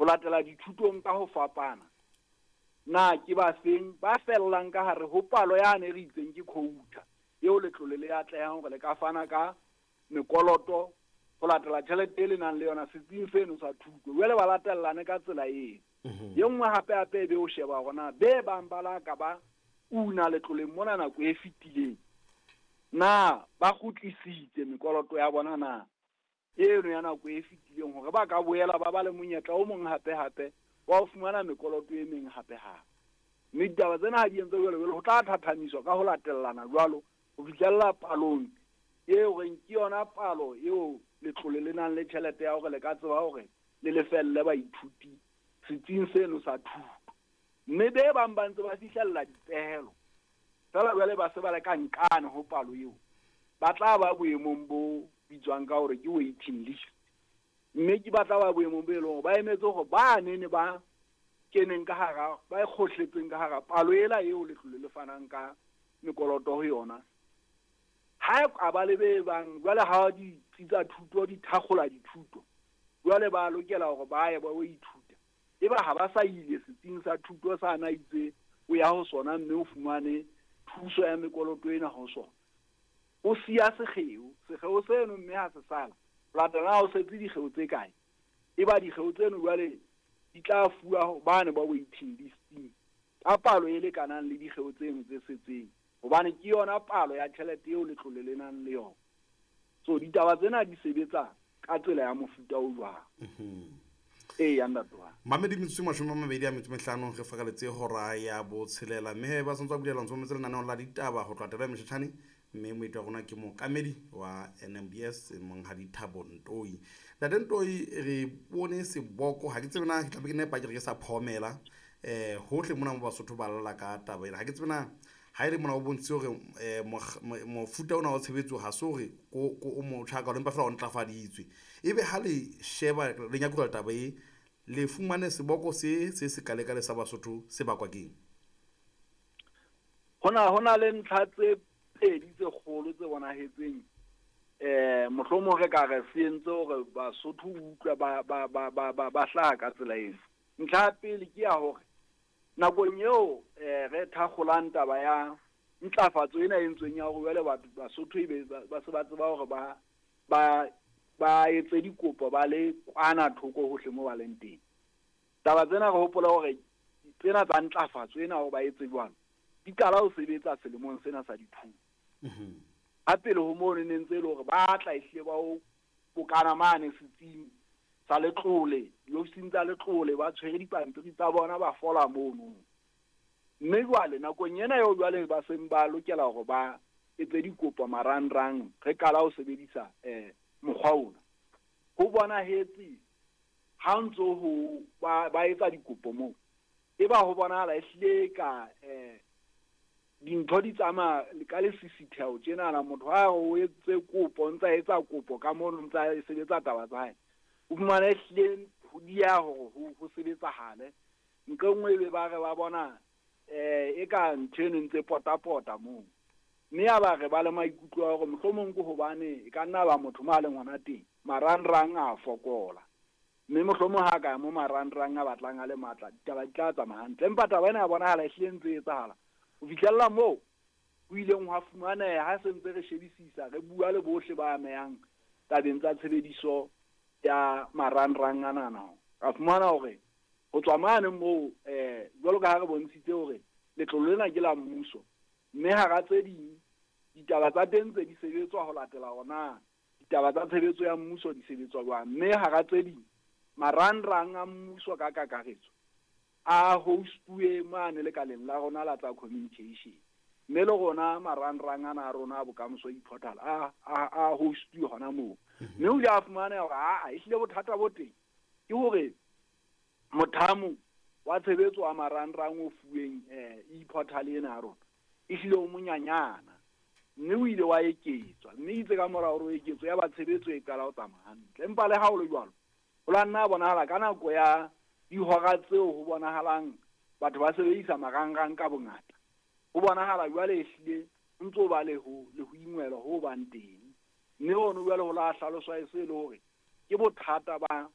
Ho latela dithutong ka ho fapana, na ke ba feng ba fellang ka hare ho palo yane e re itseng ke quota eo letlole le atlehang hore le ka fana ka mekoloto ho latela tjhelete e le nang le yona setsing seno sa thuto. Jwale ba latellane ka tsela eo. E nngwe hape hape e be o sheba hore na be bang ba la ka ba una letloleng mona nako e fetileng, na ba kgutlisitse mekoloto ya bona na eno ya nako e fetileng, hore ba ka boela ba ba le monyetla o mong hape hape wa ho fumana mekoloto e meng hape hape. Mme ditaba tsena ha di entse jwalo jwalo, ho tla thathamiswa ka ho latellana jwalo ho fihlella palong eo reng ke yona palo eo letlole le nang le tjhelete ya hore le ka tseba hore le lefelle baithuti setsing seno sa thuto. Mme be bang ba ntse ba fihlella dipehelo feela jwale ba se ba le ka nqane ho palo eo, ba tla ba boemong bo bitswang ka hore ke waiting list. Mme ke ba tla ba boemong bo e leng hore ba emetse hore ba nene ba keneng ka hara, ba e kgohletseng ka hara palo ela eo letlole le fanang ka mekoloto ho yona. Ha e ka ba le be bang jwale ha ditsi tsa thuto di thakgola dithuto, jwale ba lokela hore ba ye ba o ithuta. Eba ha ba sa ile setsing sa thuto sa na itse o ya ho sona mme o fumane thuso ya mekoloto ena ho sona, o siya sekgeo. Sekgeo seno mme ha se sala, ho latela ha o setse dikgeo tse kae, eba dikgeo tseno jwale di tla fuwa bane ba waiting listing ka palo e lekanang le dikgeo tseno tse setseng, hobane ke yona palo ya tjhelete eo letlole le nang le yona. So ditaba tsena di sebetsa ka tsela ya mofuta o jwang. Ee, ntate wa. Mamedi metsotso 25 re fakaletse hora ya botshelela, mme ba santse ba bulela ntse mametse lenaneo la ditaba ho tloha taba ya Moshetjhane, mme moeti wa rona ke mookamedi wa NMBS Monghadi Thabo Ntoi. Ntate Ntoi, re bone seboko, ha ke tsebe na ke tlabe ke nepa ke re ke sa phomela hohle mona mo Basotho ba lla ka taba ena. Ha ke tsebe na ha e le mona o bontshitse hore mofuta ona wa tshebetso ha se hore ko o motjha ka empa fela o ntlafaditswe. Ebe ha le sheba le nyakurela taba e, le fumane seboko se se sekalekale sa Basotho se bakwa keng? Hona le ntlha tse pedi tse kgolo tse bonahetseng, mohlomong re ka re se entse hore Basotho utlwe ba hlaha ka tsela ena. Ntlha ya pele ke ya hore nakong eo re thakgolang taba ya ntlafatso ena e entsweng ya hore jwale batho Basotho ebe ba se ba tseba hore ba etse dikopo ba le kwana thoko hohle mo ba leng teng. Taba tsena re hopola hore tsena tsa ntlafatso ena hore ba etse jwalo di qala ho sebetsa selemong sena sa dithuto. Ha pele ho mono ne ntse e le hore ba tla ehlile ba o bokana mane setsing sa letlole, diofising tsa letlole, ba tshwere dipampiri tsa bona ba fola mono. Mme jwale nakong ena eo jwale ba seng ba lokela hore ba etse dikopo marangrang, re qala ho sebedisa mokgwa ona. Ho bonahetse ha ntso ho ba etsa dikopo moo, eba ho bonahala ehlile ka dintho di tsamaya ka lesisitheho tjenana. Motho ha o etse kopo, o ntsa etsa kopo ka mono, ntsa sebetsa taba tsa hae, o fumane ehlile ho dieha hore ho sebetsahale. Nqe nngwe ebe ba re ba bona e ka ntho eno ntse potapota moo, mme ya ba re ba le maikutlo a hore mohlomong ke hobane e ka nna ba motho mo a leng hona teng marangrang a fokola, mme mohlomong ha ka ya mo marangrang a batlang a le matla ditaba di tla tsamaya hantle. Empa taba ena ya bonahala ehlile ntse e etsahala ho fihlella moo ho ileng hwa fumaneha ha se ntse re shebisisa, re bua le bohle ba amehang tabeng tsa tshebediso ya marangrang anana. Ra fumana hore ho tswa mane moo jwalo ka ha re bontshitse hore letlole lena ke la mmuso, mme hara tse ding ditaba tsa teng tse di sebetswa ho latela hore ditaba tsa tshebetso ya mmuso di sebetswa jwang, mme hara tse ding marangrang a mmuso ka kakaretso a hostuwe mane lekaleng la rona la tsa communication, mme le rona marangrang ana a rona a Bokamoso e-portal a hostuwe hona moo. Mme o ile a fumaneha hore aa ehlile bothata bo teng ke hore mothamo wa tshebetso wa marangrang o fuweng e-portal ena ya rona ehlile o monyanyana, mme o ile wa eketswa, mme itse ka mora hore o eketswe ya ba tshebetso e qala ho tsamaya hantle. Empa le ha ho le jwalo, ho la nna bonahala ka nako ya dihora tseo ho bonahalang batho ba sebedisa marangrang ka bongata, ho bonahala jwale ehlile ho ntso ba le ho ingwelwa ho bang teng. Mme hono jwale ho la hlaloswa e se le hore ke bothata ba